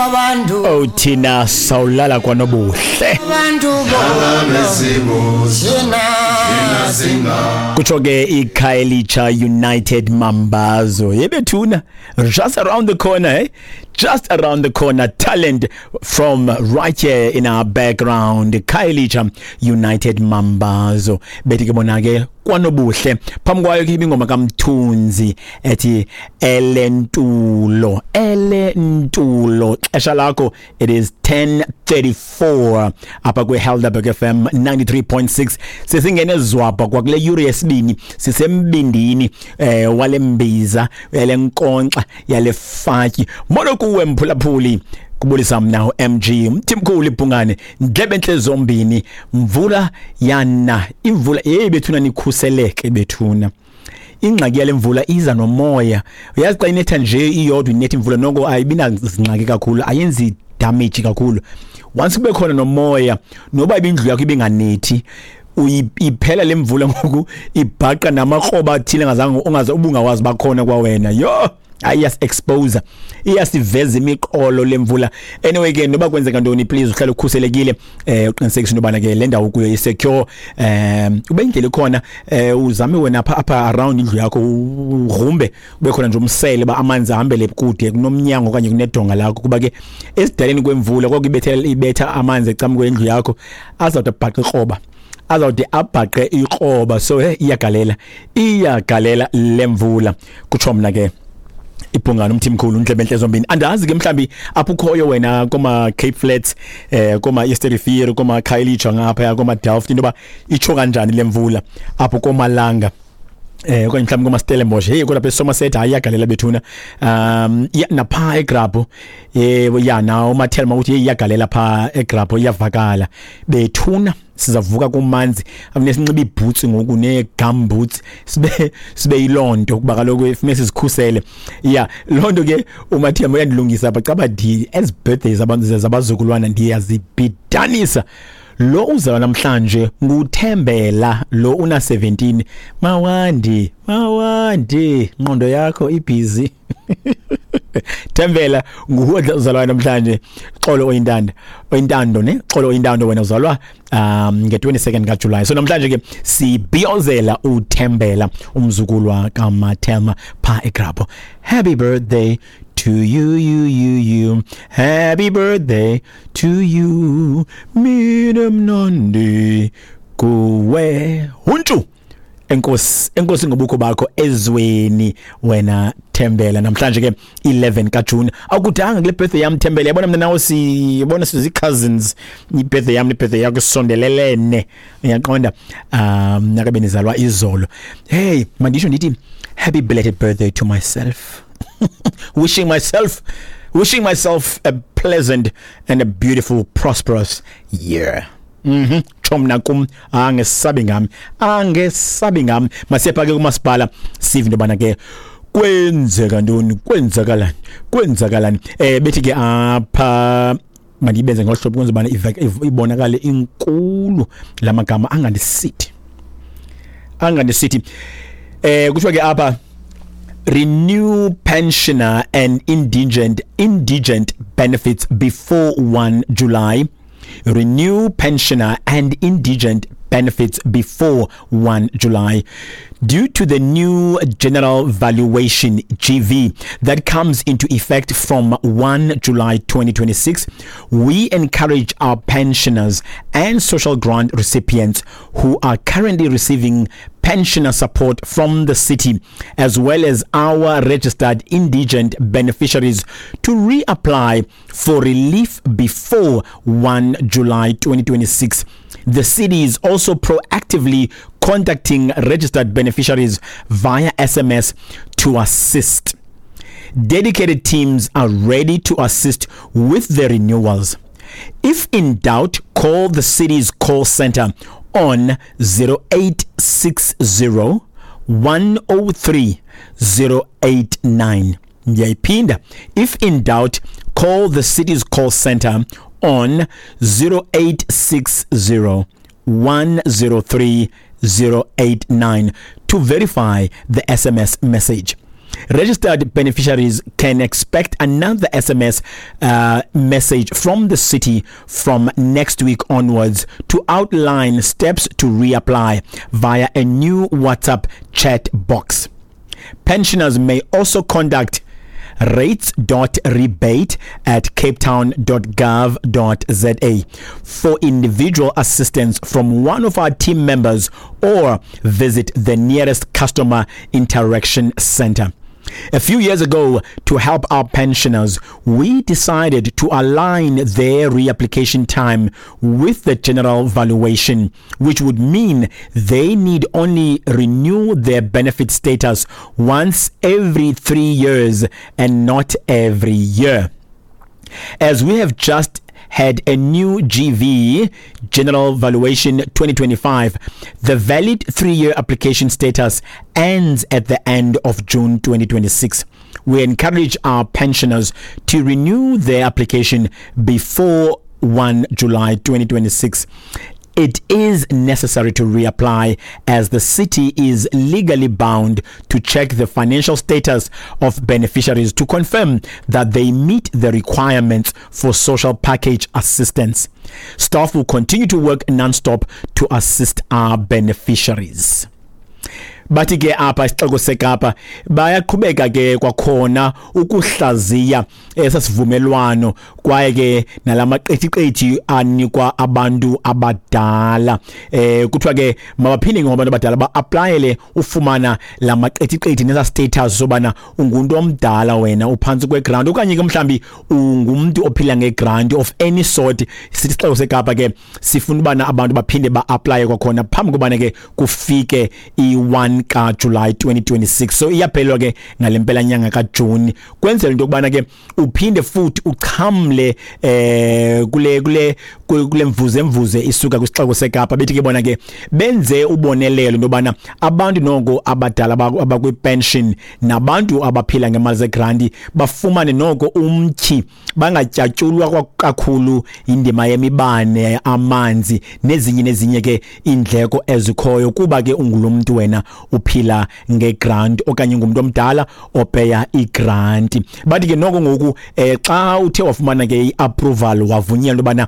Abantu. Oh, thina sawulala kwanobuhle. Abantu bona. Kutsho ke iKhayelitsha United Mambazo yebethuna, just around the corner, eh? Just around the corner, talent from right here in our background, Khayelitsha United Mambazo. Bethi ke bona ke kwanobuhle. Phambi kwayo ke ibingoma kaMthunzi ethi Elentulo, Elentulo. Xesha lakho, it is 10:34 apha kwi-Helderberg FM 93.6. Sesingene zwabha kwakule yure yesibini, sisembindini wale mbiza yale nkonkxa yale fatyi. Molo kuwe mphulaphuli, kubulisa mna uMG Mthimkhulu ibhungane, ndlebe entle zombini. Mvula yana imvula, hey bethuna, nikhuseleke bethuna. Ingxaki yale mvula iza nomoya. Uyazi xa inetha nje iyodwa, inetha imvula noko ayibinazingxaki kakhulu, ayenzi damage kakhulu. Once kube khona nomoya, noba ibindlu yakho ibinganethi, iphela le mvula ngoku ibhaqa namakroba athile ngazange ungaze ubungawazi bakhona kwawena. Yho, iyas expose, iyasiveza imiqolo lemvula. Anyway ke, noba kwenzeka ntoni, please uhlale ukhuselekile, uqinisekise into yobana ke le ndawo kuyo isecure, ube indlela ikhona, uzame wena apha around indlu yakho ugrumbe, ube khona nje umsele ba amanzi ahambele kude kunomnyango okanye kunedonga lakho, kuba ke esidaleni kwemvula kwakubethela ibetha amanzi ecam kwendlu yakho, azawude abhaqe ikroba, azawude abhaqe ikroba. So iyagalela, iyagalela lemvula. Kutsho mna ke ibhungane uMthimkhulu ndlebe entle zombini. Andazi ke mhlambi apho ukhoyo wena koma Cape Flats, koma East Riviera, koma Khayelitsha, ngapha koma Delft, into ba itsho kanjani lemvula apho komalanga, okanye mhlawumbi koma Stellenbosch. Hey, kodwa apha eSomerset hayi iyagalela bethuna. Ya, napha eGrabho, ya, nawo uMathelma uthi hey iyagalela pha eGrabho, iyavakala bethuna. Sizavuka kumanzi, amne sinxiba iiboots ngoku nee-gum boots, sibe yiloo nto, kuba kaloku funeka sizikhusele. Ya, loo nto ke uMathemba uyandilungisa apha caba ndi ezi birthdays abantu zabazukulwana ndiyazibhidanisa. Lo uzalwa namhlanje nguThembela, lo una 17. Mawandi, mawandi, ngqondo yakho ibhizi. Thembela nguwe uzalwa namhlanje. Xolo oyintanda, oyintando ne xolo oyintando, wena uzalwa nge-22nd kaJuly. So namhlanje ke sibhiyozela uThembela, umzukulwa kaMathelma pha eGrabho. Happy birthday to you, you, you, you, happy birthday to you. Mina mnandi kuwe huntshu. Enkosi, enkosi ngobukho bakho ezweni wena Thembela. Namhlanje ke 11 kaJune, awukudanga kule birthday yam Thembela. Yabona mina nawe sibona sizi cousins, i-birthday yam ne-birthday yakho isondelelene, uyaqonda? Nakabe nizalwa izolo. Hey, mandisho ndithi happy belated birthday to myself, wishing myself a pleasant and a beautiful, prosperous year. Tsho mna kum, angesabi ngami, angesabi ngami. Masiyapha ke kumasipala, sive into yobana ke kwenzeka ntoni, kwenzakalani, kwenzakalani. Bethi ke apha mandiyibenze ngolu hlobo kwenzela ubana ibonakale inkulu la magama, angandisithi, angandisithi. Kuthiwa ke apha, renew pensioner and indigent benefits before 1 July. Renew pensioner and indigent benefits before 1 July. Due to the new General Valuation, GV, that comes into effect from 1 July 2026, we encourage our pensioners and social grant recipients who are currently receiving pensioner support from the city, as well as our registered indigent beneficiaries, to reapply for relief before 1 July 2026. The city is also proactively contacting registered beneficiaries via SMS to assist. Dedicated teams are ready to assist with the renewals. If in doubt, call the city's call center on 0860 103 089. Ndiyayiphinda. If in doubt, call the city's call center on 0860 103 089 to verify the SMS message. Registered beneficiaries can expect another SMS message from the city from next week onwards to outline steps to reapply via a new WhatsApp chat box. Pensioners may also contact rates.rebate at capetown.gov.za for individual assistance from one of our team members or visit the nearest customer interaction center. A few years ago, to help our pensioners, we decided to align their reapplication time with the general valuation, which would mean they need only renew their benefit status once every 3 years and not every year. As we have just had a new GV, General Valuation 2025, the valid 3-year application status ends at the end of June 2026. We encourage our pensioners to renew their application before 1 July 2026. It is necessary to reapply as the city is legally bound to check the financial status of beneficiaries to confirm that they meet the requirements for social package assistance. Staff will continue to work non-stop to assist our beneficiaries. Bathi ke apha isixeko seKapa bayaqhubeka ke kwakhona ukuhlaziya esasivumelwano kwaye ke nalamaqithiqithi anikwa abantu abadala. Kuthiwa ke mabaphinde ngoba abantu abadala ba-applyele ufumana lamaqithiqithi nesa status sobana ungumuntu omdala, wena uphantsi kwegrant okanye ke mhlambi ungumntu ophila ngegrant of any sort. Sithi isixeko seKapa ke sifuna ubana abantu baphinde ba-applye kwakhona phambi kobana ke kufike i-1 kaJulayi 2026. So iyaphelelwa ke ngale mpela nyanga kaJuni, kwenzela into yokubana ke uphinde futhi uchamle kule mvuze mvuze isuka kwisixeko seKapa. Bethi ke bona ke benze ubonelelo into yobana abantu noko abadala abakwi-pension nabantu abaphila ngemali zegranti bafumane noko umtyhi, bangatyatyulwa kakhulu indima yemibane, amanzi nezinye nezinye ke iindleko ezikhoyo, kuba ke ungulo mntu wena uphila ngegrant okanye ngumntu omdala opeya igranti. Bathi ke noko ngoku xa uthe wafumana ke i-approval, wavunyelwa ubana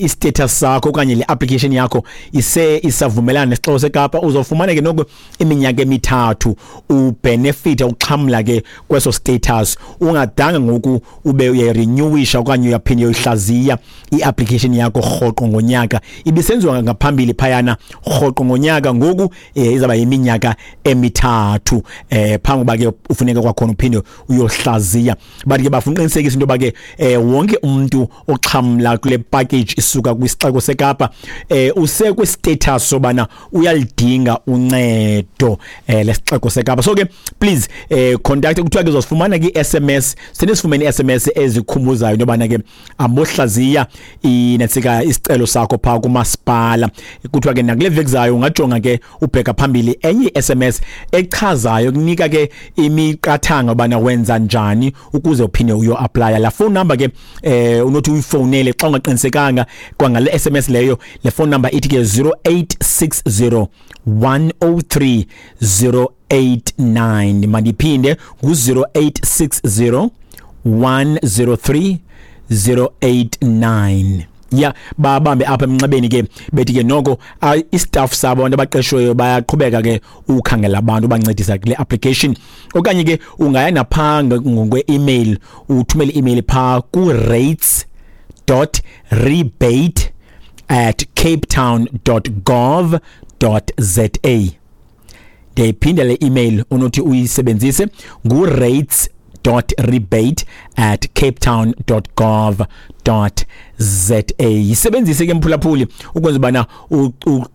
i-status sakho okanye le application yakho ise isavumelana nesixeko seKapa, uzofumana ke noko iminyaka emithathu ubenefita, uxhamla ke kweso status, ungadanga ngoku ube uyayirenewisha okanye uyaphinda uyoyihlaziya i-application yakho rhoqo ngonyaka. Ibisenziwa ngaphambili phayana rhoqo ngonyaka, ngoku izaba yiminyaka emithathu phambi kuba ke ufuneka kwakhona uphinde uyohlaziya. Bathi ke bafuna uqinisekisa into yoba ke wonke umuntu oxhamla kule package isuka kwisixeko seKapa usekwi-status sobana uyalidinga uncedo lesixeko seKapa. So ke please contact, kuthiwa ke uzosifumana ki-SMS, senisifumene i-SMS ezikhumbuzayo into yobana ke ambohlaziya inetsika isicelo sakho phaa kumasipala. Kuthiwa ke nakule veki zayo ungajonga ke ubheka phambili enye i-SMS echazayo, kunika ke imiqathango ubana wenza njani ukuze uphinde uyo-applya. La phone number ke unothi uyifowunele xa ungaqinisekanga kwangale SMS leyo, le phone number ithi ke 0860 103 089. Mandiphinde, ngu-0860 103 089. Ya, babambe apha emnxebeni ke, bethi ke noko istaff sabo, abantu abaqeshiweyo, bayaqhubeka ke ukhangela abantu bancedisa kule application. Okanye ke ungaya napha ngokwe-email, uthumele i-email phaa ku-rates.rebate@capetown.gov.za. Ndiyayiphinda le email onothi uyisebenzise, ngu-rates.rebate@capetown.gov.za. Yisebenzise ke mphulaphuli ukwenza ubana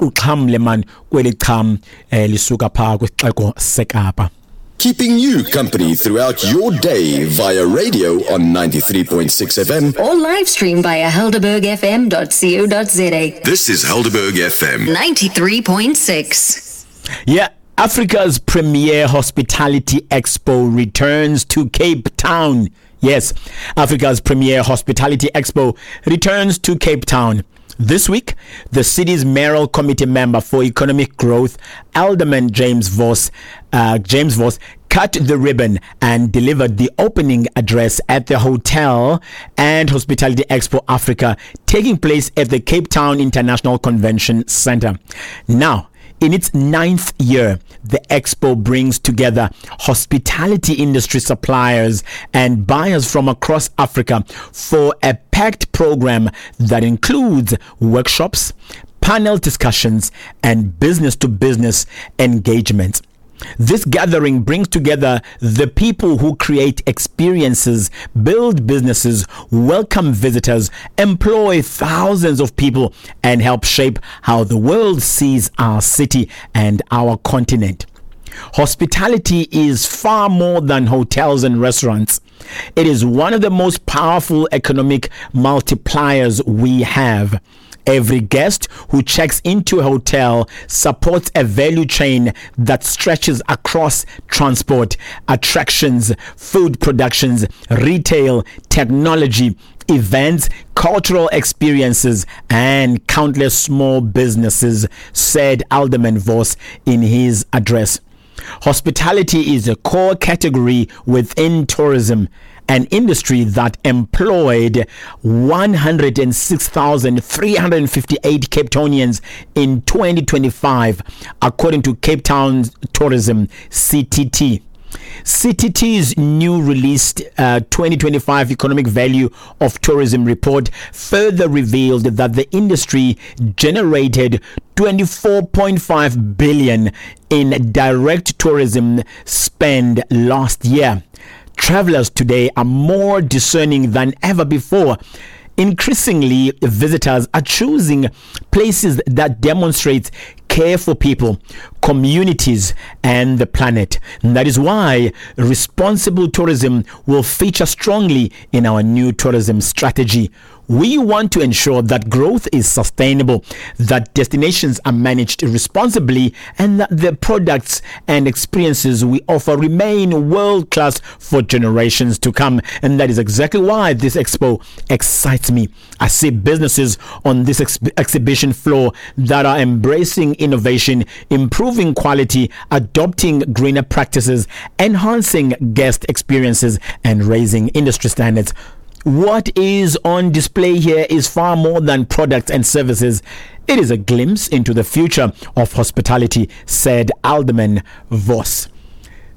uxhamle man kweli cham lisuka phaa kwisixeko seKapa. Keeping you company throughout your day via radio on 93.6 FM. Or live stream via helderbergfm.co.za. This is Helderberg FM. 93.6. Yeah, Africa's premier hospitality expo returns to Cape Town. Yes, Africa's premier hospitality expo returns to Cape Town. This week, the city's mayoral committee member for economic growth, Alderman James Vos, cut the ribbon and delivered the opening address at the Hotel and Hospitality Expo Africa, taking place at the Cape Town International Convention Center. Now, in its ninth year, the expo brings together hospitality industry suppliers and buyers from across Africa for a packed program that includes workshops, panel discussions, and business to business engagements. This gathering brings together the people who create experiences, build businesses, welcome visitors, employ thousands of people, and help shape how the world sees our city and our continent. Hospitality is far more than hotels and restaurants. It is one of the most powerful economic multipliers we have. Every guest who checks into a hotel supports a value chain that stretches across transport, attractions, food productions, retail, technology, events, cultural experiences, and countless small businesses, said Alderman Vos in his address. Hospitality is a core category within tourism, an industry that employed 106,358 Capetonians in 2025, according to Cape Town Tourism CTT. CTT's new released 2025 Economic Value of Tourism report further revealed that the industry generated 24.5 billion in direct tourism spend last year. Travelers today are more discerning than ever before. Increasingly, visitors are choosing places that demonstrate care for people, communities, and the planet. And that is why responsible tourism will feature strongly in our new tourism strategy. We want to ensure that growth is sustainable, that destinations are managed responsibly, and that the products and experiences we offer remain world class for generations to come. And that is exactly why this expo excites me. I see businesses on this exhibition floor that are embracing innovation, improving quality, adopting greener practices, enhancing guest experiences, and raising industry standards. What is on display here is far more than products and services. It is a glimpse into the future of hospitality, said Alderman Vos.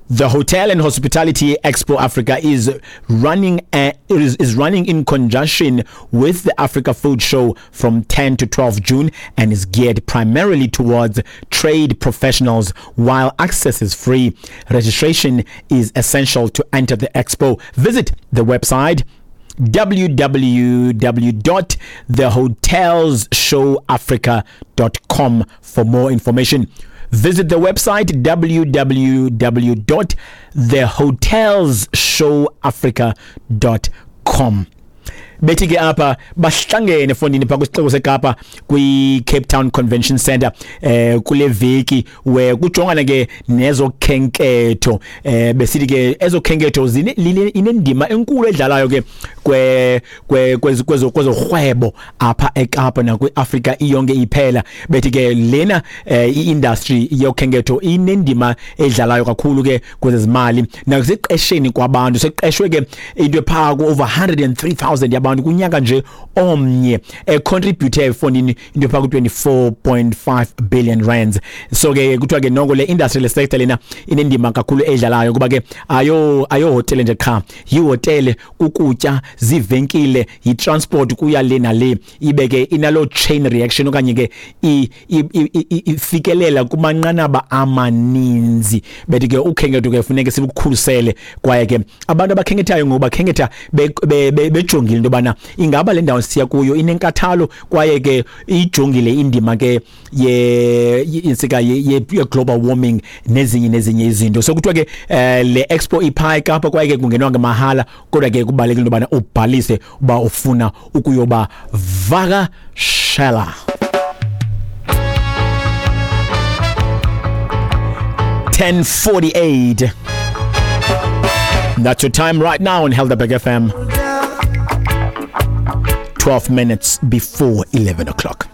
The Hotel and Hospitality Expo Africa is running in conjunction with the Africa Food Show from 10 to 12 June and is geared primarily towards trade professionals, while access is free. Registration is essential to enter the expo. Visit the website www.thehotelshowafrica.com for more information. Visit the website www.thehotelshowafrica.com. Bethi ke apha bahlangene fondini phaa kwisixeko seKapa kwi-Cape Town Convention Center kule veki, we kujongana ke nezokhenketho. Besithi ke ezokhenketho inendima enkulu edlalayo ke kwezorhwebo apha eKapa nakwi-Afrika iyonke iphela. Bethi ke lena i-industry yokhenketho inendima edlalayo kakhulu ke kwezezimali nakuseqesheni kwabantu. Seqeshwe ke into ephaa ku-over 103,000 yabantu kunyaka nje omnye, econtribute efondini into ephaa ku-24.5 billion rands. So ke kuthiwa ke noko le industry, le sector lena inendima kakhulu edlalayo, kuba ke ayohotele nje qha, yihotele, kukutya, ziivenkile, yi-transport kuya le nale, ibe ke inaloo chain reaction okanye ke ifikelela kumanqanaba amaninzi. Bethi ke ukhenketho ke funeke silukhusele, kwaye ke abantu abakhenkethayo ngoku bakhenketha bejongile into yobana ingaba le ndawo siya kuyo inenkathalo, kwaye ke ijongile indima ke ye insika ye global warming nezinye nezinye izinto. So kuthiwa ke le expo iphaa eKapa, kwaye ke kungenwa ngamahala, kodwa ke kubalulekile into yobana ubhalise uba ufuna ukuyoba vakashela. 10:48. That's your time right now on Helderberg FM. 12 minutes before 11 o'clock.